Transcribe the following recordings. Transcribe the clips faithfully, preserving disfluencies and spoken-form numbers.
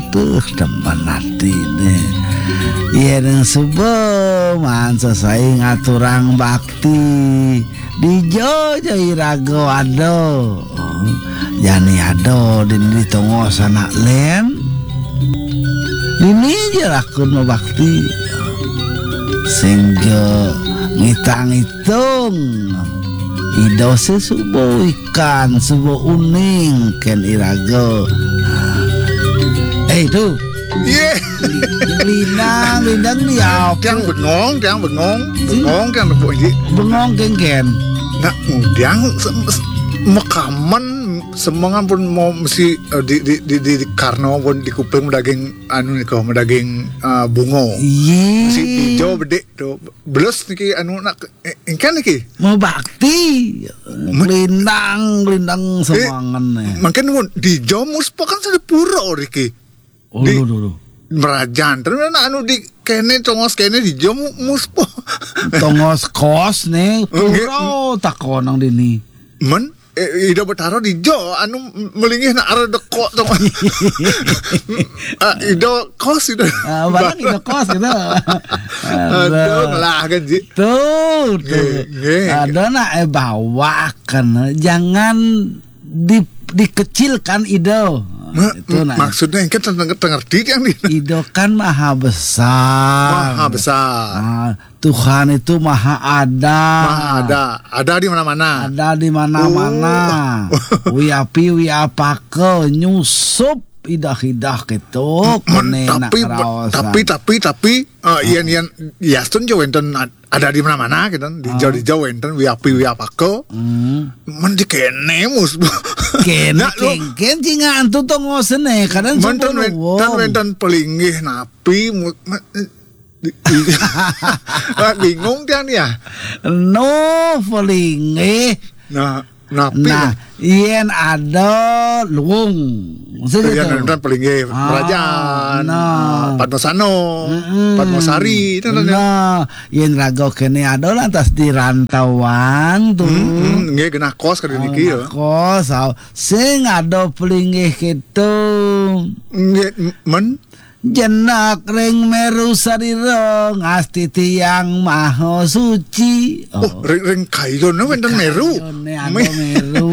Tuh, demen atine. Yen suba maan sesai ngaturang bakti. Dija ja iraga ada. Jani ada dini di tongos anak len. Dini ja raga mabakti. Sing ja ngitang-itung. Ida sing suba wikan, suba uning ken iraga. Eh, tu. Ye. Lindang, lindang ni apa? Tiang bengong, tiang bengong. Bengong, tiang nepuk, Ji. Bengong kengken. Nak ngudiang se-, se-, makaman semengan pun mau mesti, eh, di, di, di, di, di Karno pun di kuping daging anu ni kau, daging, eh, bungo. Ye. Mesti hijau bedik tu. Belus niki anu nak, eh, engkan niki. Mau bakti. Lindang, lindang semangan ni. Mungkin mun di Jomus po kan sudah pura riki. Oh, di duh, duh, duh. Merajan. Terus nak anu di kene, tongos kene di Jomus po. Tongos kos ni, pura takon nang dini. Men, eh, Ida Betara di jo, anu melinggih nak arah dekok tu. Ah, Ida kos Ida. Ah, barang Ida kos gitu. Aduh, lah kan, Ji. Tu, tu. Nggih, nggih. Ada nak, eh, bawa kan. Jangan di-, dikecilkan Ida. Ma-, itu nak. Maksudnya engke teng-, tengerti yang di. Ida kan maha besar. Maha besar. Ah, Tuhan itu maha ada. Maha ada. Ada di mana-mana. Ada di mana-mana. Oh. Wiapi, wiapaka, nyusup idah-idah gitu. Kene nak tapi, tapi, tapi, tapi, eh, yen, yen, yastun jo wenten ad-, ada di mana-mana gitu. Di jo, di jo wenten wiapi, wiapaka. Hmm. Men di kene mus. Kene nak lu kengken cinga antu tongosene, kadang men ten wen-, ten wenten pelinggih napi mu-, me-, Di-, di-, ah, bingung kan ya? No, pelinggih. Nah, napi nah, yen ada luung. Maksudnya yen gitu. Ada pelinggih ah, kerajaan, nah. Ah, Padmasano, mm-mm. Padmasari, itu kan ya. Nah, yen raga kene ada lantas di rantauan tu. Mm-mm, nggih genah kos kali niki ya. Kos, ah, sing ada pelinggih gitu. Nggih, men Jenak ring meru sarira ngastiti Yang Maha Suci. Oh, ring, ring kayune wenten meru. Kayune ada meru.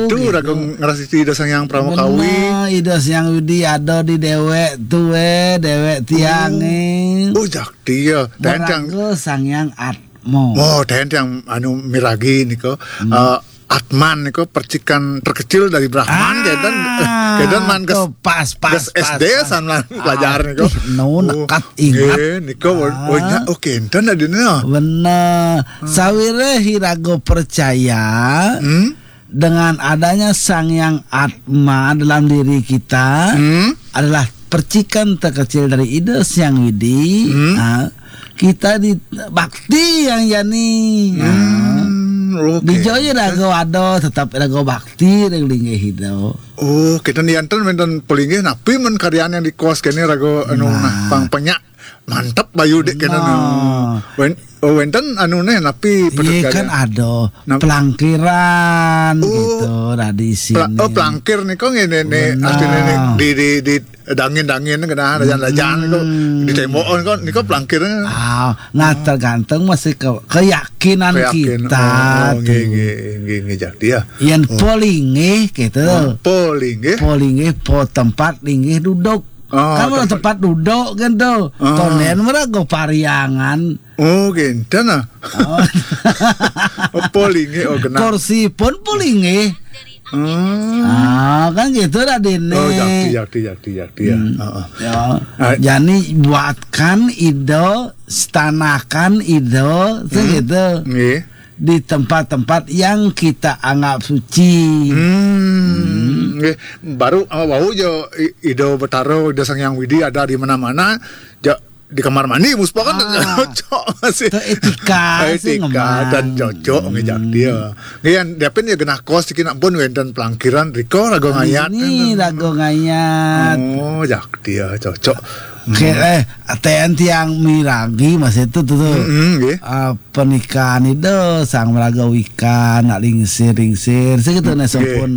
Itu gitu. Raga ngrastiti Ida Sang Hyang Pramakawi. Bener, Ida Sang Hyang Widi ada di dewek tuwe, dewek tiange. Oh, jakti ya. Tentang maraga Sang Hyang Atma. Oh, tentang anu miragi nika. Hmm. Eh, Atman niku percikan terkecil dari Brahman, ah, kedan, kedan man ges, tuh, pas, pas, ges pas, S D pas. San man ah, pelajar niku. Ih, nu oh, nekat ingat. Nggih, niku ah. Oh, nya, oh, kenten tadi nih. Bener. Hmm. Sawire iraga percaya hmm? Dengan adanya Sang Yang Atma dalam diri kita hmm? Adalah percikan terkecil dari Ida Sang Widi, hmm? Ah, kita di bakti yang jani. Hmm, oke. Di joyo raga ada tetap raga bakti ring linggih Ida. Oh, kita nianten wenten pelinggih napi men karyan yang di kos kene raga anu nah, nah pang penyak mantep bayu dek kene nah. Wen, oh, wenten anu neh napi iya kan ada nah, pelangkiran oh, gitu tradisi pla, oh pelangkir nih kok ngene nih artinya nih di di di dangin-dangin kena dajan-dajan hmm. Kok di tembok kan nih kok pelangkir ah nah tergantung masih ke keyakinan, keyakinan kita oh, tuh nggih nggih nggih nggih jadi ya yang oh. Polingih gitu oh, polingih polingih po tempat linggih duduk oh, kan tempat, tempat duduk kan tuh oh. Konen mereka pariangan oh gitu nah oh. Polingih oh kena kursi pun polingih Hmm. Ah, kan gitu Radene. Oh, yakti, yakti, yakti, yakti ya. Hmm. Uh-uh. Ya. Ah. Jadi buatkan ide, setanakan ide, hmm. Gitu. Nggih. Di tempat-tempat yang kita anggap suci. Hmm. Hmm. Nggih. Baru uh, wau jo ide Betara, ide Sang Hyang Widi ada di mana-mana. Jo di kamar mandi muspa kan ah, cocok masih etika etika dan cocok hmm. Ngejak dia ngian dia pun ya genah kos dikit nak pun wenten pelangkiran riko rago ngayat ini rago ngayat oh jak dia cocok oke eh aten tiang miragi masih itu tuh tuh mm -hmm, uh, pernikahan itu sang meraga wika nak lingsir lingsir segitu hmm, nih okay. Sampun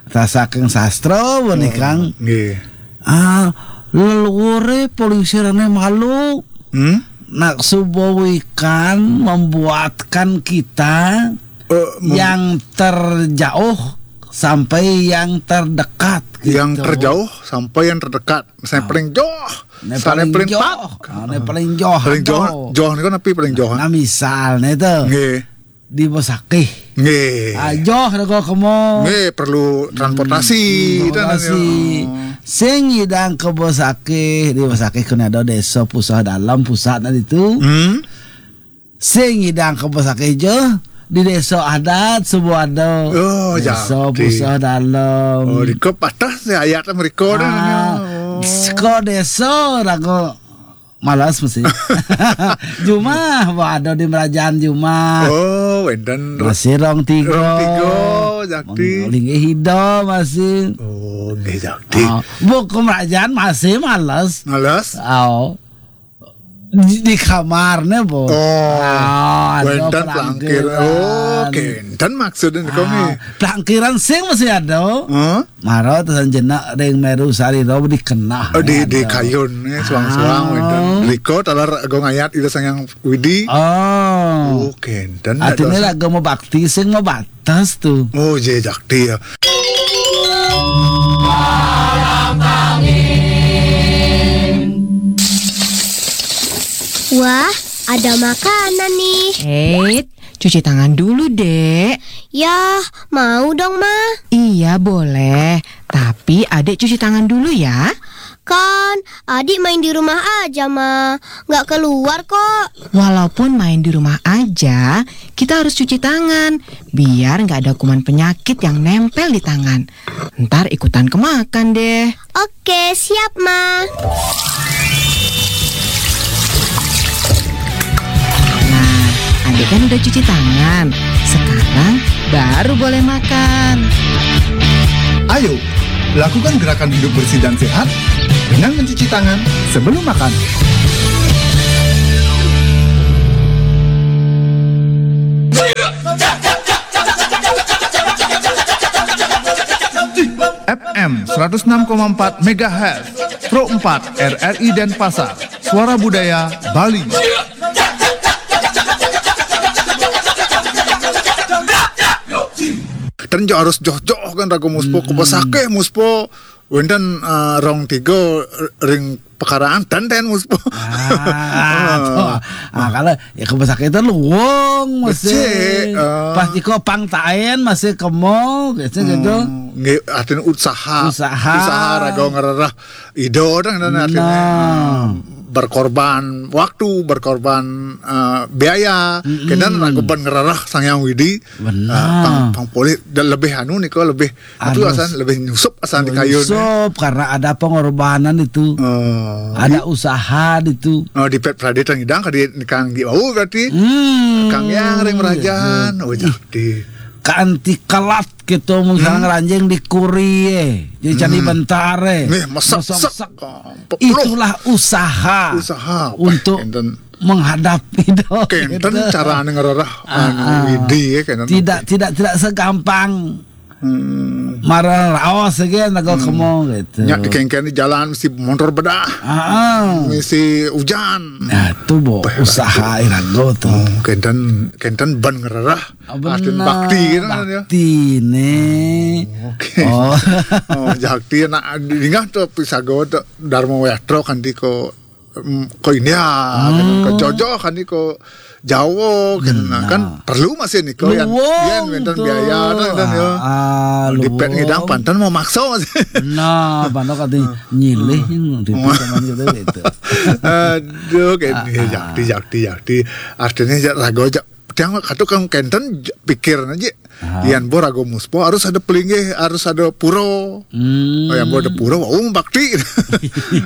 rasakan sastra pernikahan oh, okay. Ah Leluhur, eh, polisi rane malu. Hmm? Nak subowikan membuatkan kita Eh, mem- yang terjauh sampai yang terdekat, yang gitu. Terjauh sampai yang terdekat. Misalnya paling jauh, misalnya paling jauh. Ah, ini paling jauh. Paling jauh, jauh ini kan apa paling jauh? Nah, misalnya itu. Nggih. Di Bosakih. Nggih. Ah, jauh raga kemo. Nggih, perlu transportasi. Hmm, transportasi. Sing nyidang ke Bosakih, di Bosakih kena ada desa Pusah Dalam, pusat tadi tu. Hmm. Sing nyidang ke Bosakih je, di desa adat sebuah ada. Oh, desa Pusah Dalam. Oh, di ke patah saya ayat mereka dah. Ah, oh. Seko desa raga malas mesti. Jumah, ada di merajaan jumah. Oh, wenten. Masih rong tiga. Rong tiga, jakti. Linggih ida masih. Oh, nggih, jakti. Ah, buku merajaan masih malas. Malas? Oh. Di, di kamarnya, Bu. Oh, ah, ada wenten pelangkir. Pelangkiran. Oh, kenten maksudnya kau ni. Ah, pelangkiran sing masih ada. Huh? Mara tesan jenak ring meru sari ro dikenah. Oh, di, di kayun, eh, suang-suang, ah. Wenten. Riko talar agung ayat ida sangyang Widi. Oh. Oh, kenten. Artinya lagu mau bakti, sing mau batas tu. Oh, je jakti ya. Wah, ada makanan nih. Eh, cuci tangan dulu, Dek. Ya, mau dong, Ma. Iya, boleh. Tapi Adik cuci tangan dulu ya. Kan, Adik main di rumah aja, Ma. Nggak keluar kok. Walaupun main di rumah aja, kita harus cuci tangan. Biar nggak ada kuman penyakit yang nempel di tangan. Ntar ikutan kemakan deh. Oke, siap, Ma. Nah, Adik kan udah cuci tangan. Sekarang baru boleh makan. Ayo, lakukan gerakan hidup bersih dan sehat dengan mencuci tangan sebelum makan. F M seratus enam koma empat megahertz, Pro empat R R I Denpasar, Suara Budaya Bali. Ten jo harus joh-joh kan raga Muspo, hmm. Ke Bosakih Muspo, wenten, eh, rong tiga ring pekaraan ten ten Muspo. Ah, tuh. Ah, kalau ya ke Bosakih itu luwung masih. Becik, eh. Pas diko pang taen masih kemo gitu, gitu. Hmm, nggih, artinya usaha. Usaha. Usaha raga ngererah ida dang, dan artinya, nah, eh, berkorban waktu, berkorban, eh, biaya. Mm-mm. Kenten raga ben ngererah Sang Hyang Widi. Benar. Eh, pang, pang polih dan lebih anu nika, lebih itu asan, lebih nyusup asan di kayun, ya. Nyusup karena ada pengorbanan itu. Eh, ada usaha itu. Eh, di pet prade tang idang kadi nikang di bau berarti. Hmm. Kang yang ring merajaan. Oh, jadi. Kanti kelat gitu, misalnya, hmm, ngeranjing di kuri, eh. Jadi candi, hmm, bentar, eh. Nih, mesek-sek. Mesek-sek. Oh, peluh. Itulah usaha. Usaha apa, untuk kenten, menghadapi dong, kenten gitu. Cara anu ngererah, ah, anu, ah, Widi, ya, kenten. Tidak, tidak, tidak segampang, hmm, marah raos aja, naga, hmm, kemo gitu. Nya dikengken di jalan mesti motor bedah. Ah, ah. Mesti hujan. Nah, itu, Bo, usaha irago tuh. Oh, kenten, kenten ben ngererah. Ah, artin benar, bakti gitu kan, ya. Bakti nih. Oke. Oh. Oh, jakti nak dingah tuh pisago tuh Dharma Wayastra kan di ko, em, ko India, kan, ko Jojo kan di ko Jawa, kan. Nah, kan perlu masih nih ko yang, luwung yang wenten tuh. Biaya, kan, kan, ya. Ah, di pet luwung. Ngidang panten mau maksa masih. Nah, panten kati nyilih, hmm, di zaman gitu, gitu. Aduh, kayak, ah, ya, ah, jakti, jakti, jakti. Artinya, ja-, rago ja-, tiang katu kang kenten j-, pikir aja. Ah. Yan bo rago Muspo harus ada pelinggih, harus ada pura. Hmm. Oh, yan bo ada pura, wau bakti.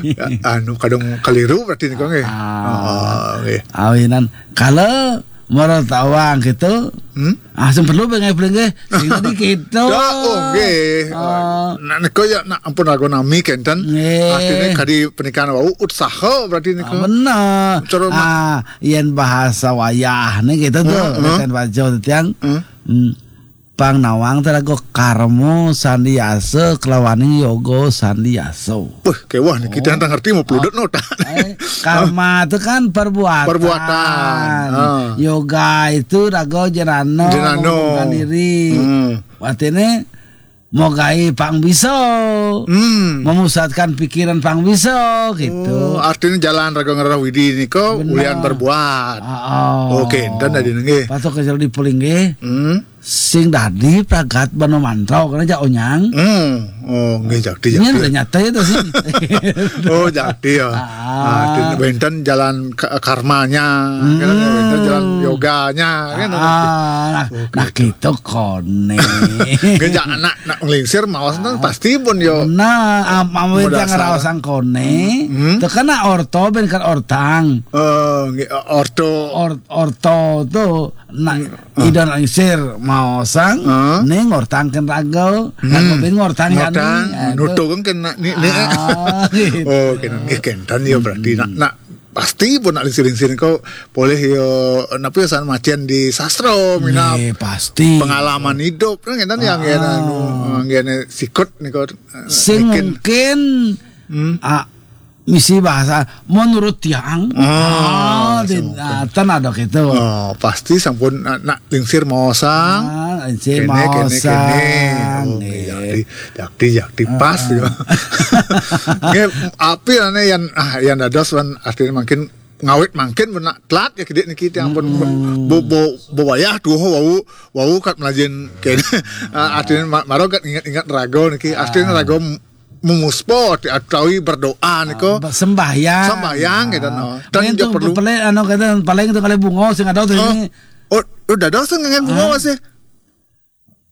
Ya, anu, kadang keliru berarti nih, kong, eh. Ah. Oh, oke. Awinan, kalau menurut awang gitu, hmm? Ah, sing perlu pengen pelinggih, sing tadi gitu. Ya, oke. Ah. Nah, niko ya, nak ampun rago nami kenten. Nggih. Artinya kadi pernikahan wau usaha berarti niko. Ah, benar. Cara ma- ah, yen bahasa wayah nih gitu tuh, heeh, heeh, kan Pak Jo tiang. Heeh. Hmm. Pang nawang téh rago karmo sandiasa kalawaning yoga sandiasa. Wah, kéweh nih, kita nggak ngerti mau peludut nota. Eh, karma itu kan perbuatan. Perbuatan. Ah. Yoga itu rago janano, janano, mengumpulkan diri. Hmm. Artinya mau gaé pang bisa. Hmm. Memusatkan pikiran pang bisa gitu. Oh, artinya jalan rago ngerah widi nika ulian berbuat. Heeh. Oké, enten tadi nggih. Patok kecil di puling nggih. Hmm. Sing dadi pragat bano mantra karena jak onyang. Hmm. Oh, nggih, jakti, jakti. Ini ternyata itu sih. Oh, jakti ya. Ah. Nah, wénten jalan ka-, karmanya, kan, wénten jalan yoganya, kan. Ah, nah, nah, gitu koné. Nggih, jak anak nak nglingsir maos kan pasti pun yo. Nah, am-, am-, wénten ngraosang koné. Hmm. Tekena orto ben kan ortang. Eh, nggih, orto. Or-, orto tuh Nah, ida nak nglingsir maosang, ning ngortang kén raga, raga ben ngortang yani. Ngortang, nutuh kan kén ni, ni. Ah, gitu. Oh, kén, nggih, kénten ya berarti. Nak, nak pasti pun nak lingsir-lingsir kok boleh yo, napa ya, san macén di sastra, minab. Nggih, pasti. Pengalaman hidup kan kénten ya, nggih, anu, nggih, sikut nika, sing mungkin, ah, misi bahasa menurut tiang. Ah, di, ah, ten ada gitu. Oh, pasti sampun nak, nak lingsir maosang. Ah, lingsir maosang. Kéné, kéné, kéné. Oh, nggih, jakti, jakti, jakti pas gitu. Nggih, api ane yang, ah, yang dados wan artinya mungkin ngawit mungkin benak telat ya kidik niki tiang pun bo, bo, bo wayah tuh wau, wau kat melajin kéné. Ah, artinya ma-, maro kat ingat-ingat raga niki. Artinya raga memuspa utawi berdoa nika. Ah, sembahyang. Sembahyang gitu, no. Dan juga perlu paling anu kata paling itu kali bunga sing ada tuh ini. Oh, udah ada sing ngangen bunga masih.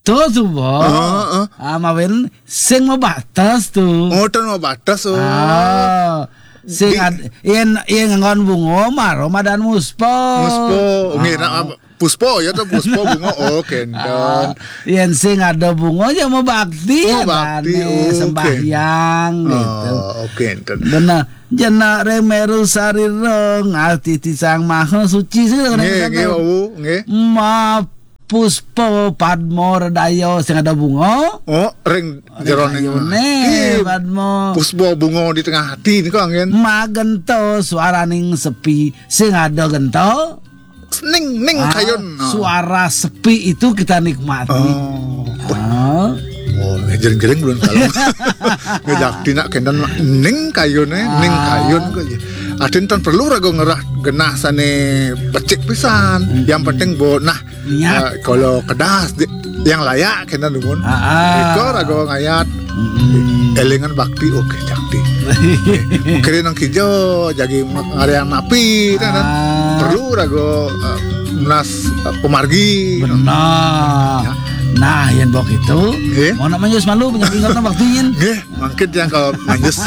Tuh, tuh, Bo. Heeh. Ah, mawen sing mau batas tuh. Oh, ten mau batas, oh. Ah, sing ad-, yen, yen nganggon bunga maro madan muspa. Muspa. Nggih, nak puspa ya to, puspa bunga. Oh, kénten. Ah, yen sing ada bunga ya mau bakti. Oh, ya bakti, kan, oh, sembahyang gitu. Oh, oke, kénten. Bener. Jenak ring meru sarira ngati ti Sang Maha Suci sih. Nggih, nggih, wau, nggih. Ma puspa padma redaya sing ada bunga. Oh, ring jeroning ati. Padma. Puspa bunga di tengah ati niku anggen. Magenta suaraning sepi sing ada genta. Ning, ning kayun. Suara sepi itu kita nikmati. Oh. Ah. Oh, jering-jering belum kalau. Ngejak tina kénten ning kayun, eh, ning kayun kok ya. Adin tan perlu raga ngerah genah sane becik pisan. Yang penting bo nah, eh, kalau kedas di, yang layak kénten dumun. Iko raga ngayat. Elingan bakti, oke, jakti. Kira nang kijo jagi ngarian napi kan. Perlu raga, eh, menas, eh, pemargi. Benar. Ya. Nah, yen bok itu, mau nak manjus malu, punya ingat bakti yen. Nggih, mungkin yang kalau manjus.